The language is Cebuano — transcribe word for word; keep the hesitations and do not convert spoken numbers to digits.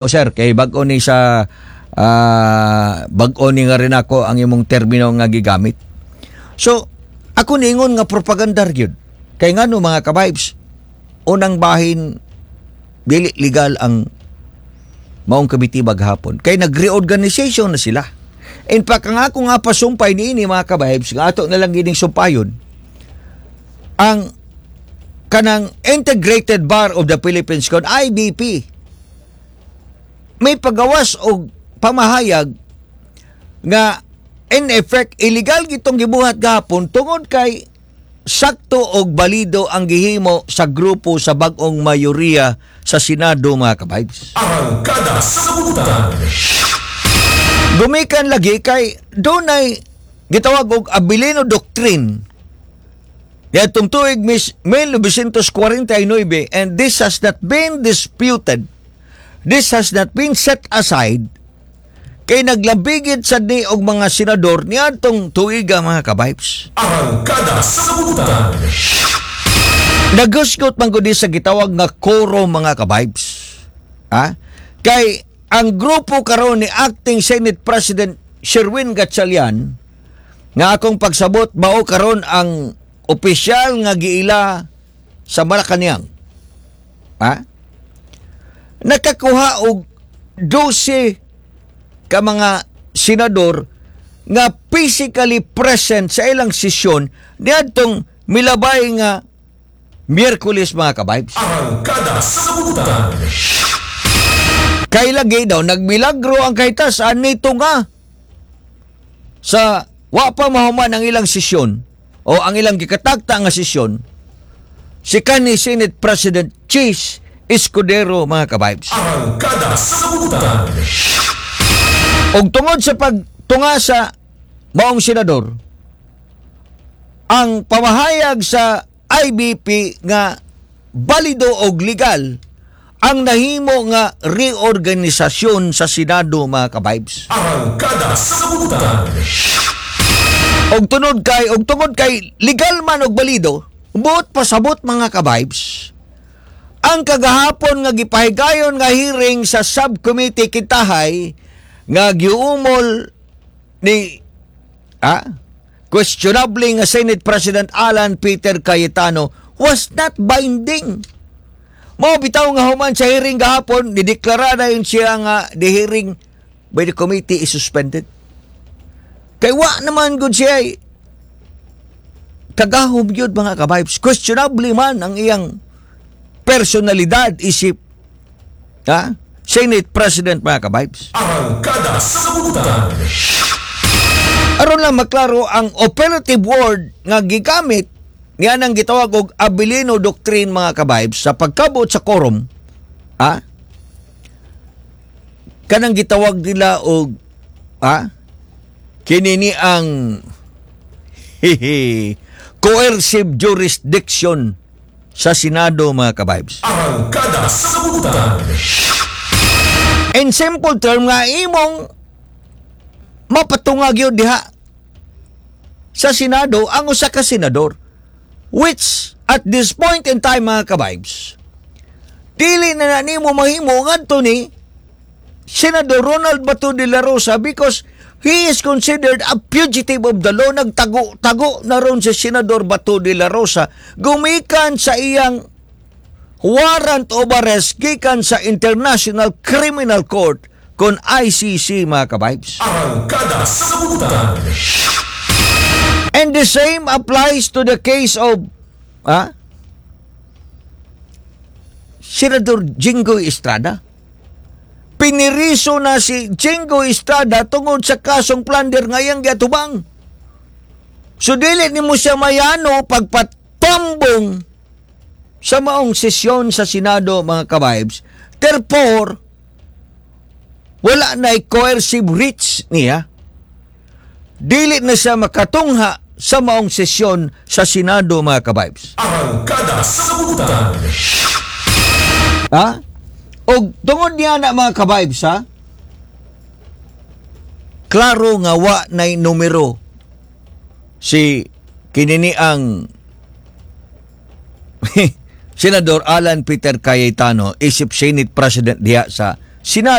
Sir, kay bag-o ni sa ah, bag-o ni nga rin ako ang imong termino nga gigamit. So, ako niingon nga propaganda gyud. Kay ngano, mga ka-vibes, unang bahin, dili legal ang maong committee maghapon. Kay nag-reorganization na sila. In fact, ang ako nga pasumpay niini, mga ka-vibes, nga ato na lang gining sumpayon, ang kanang Integrated Bar of the Philippines kon I B P may pagawas og pamahayag nga in effect illegal gitong gibuhat gahapon tungod kay sakto og balido ang gihimo sa grupo sa bag-ong mayoriya sa Senado, mga ka-vibes. Arangkada sa Kabutan. Gumikan lagi kay dunay gitawag og Avelino Doctrine niadtong tuig mis mil nobesyentos kwarenta y nuwebe, and this has not been disputed. This has not been set aside kay naglabigit sad ni og mga senador niadtong tuiga, mga ka-vibes. Arangkada sa Kabutan. Nagusgot man gud sa gitawag nga quorum, mga ka-vibes. Ha? Kay ang grupo karon ni acting Senate President Sherwin Gatchalian nga akong pagsabot mao karon ang opisyal nga giila sa Malacanang. Ha? Nakakuha og dose ka mga senador nga physically present sa ilang sesyon niadtong milabay nga Miyerkules, mga ka-vibes. Arangkada sa Kabutan. Kay lagi daw nagmilagro ang kahitasan nito nga sa wa pa mahuman ang ilang sesyon o ang ilang gikatagta nga sesyon si kanhi Senate President Chiz Escudero, mga ka-vibes. Arangkada sa Kabutan. Og tungod sa pagtunga sa maong senador, ang pamahayag sa I B P nga balido og legal ang nahimo nga reorganisasyon sa Senado, mga ka-vibes. Arangkada sa Kabutan. Og tunod kay og tungod kay legal man og balido, buot pasabot, mga ka-vibes, ang kagahapon nga gipahigayon nga hearing sa subcommittee Kintahay nga giumol ni ah, questionable nga Senate President Alan Peter Cayetano was not binding. Mao bitaw nga human sa hearing gahapon, dideklara na yun siya nga the hearing by the committee is suspended. Kay wa naman gud siya ay kagahom yun, mga ka-vibes. Questionable man ang iyang personalidad isip ha? Senate President, mga ka-vibes. Arangkada sa Kabutan. Aron lang maklaro, ang operative word nga gigamit niya nang gitawag og Avelino Doctrine, mga ka-vibes, sa pagkabot sa quorum, ha, kanang gitawag nila og ha kini ni ang hihi coercive jurisdiction sa Senado, mga ka-vibes. Arangkada sa Kabutan. In simple term nga imong mapatungag yun diha sa Senado ang usa ka senador, which at this point in time, mga ka-vibes, dili na na nimo mahimo ngadto ni Senador Ronald Bato de la Rosa because he is considered a fugitive of the law. Nagtago-tago na ron si Senador Bato de la Rosa gumikan sa iyang warrant of arrest gikan sa International Criminal Court kon I C C, mga ka-vibes. Arangkada sa Kabutan. And the same applies to the case of ah, Senador Jinggoy Estrada. Piniriso na si Jinggoy Estrada tungod sa kasong plunder ngayang giatubang. So dili nimo siya mayano pagpatambong sa maong sesyon sa Senado, mga ka-vibes. Therefore, wala na coercive reach niya. Dili na siya makatungha sa maong sesyon sa Senado, mga ka-vibes. Arangkada sa Kabutan. Ha? Og tungod niya na, mga ka-vibes, ha? Klaro nga wa nay numero si kinini ang Senador Alan Peter Cayetano isip Senate President diha sa Sinabi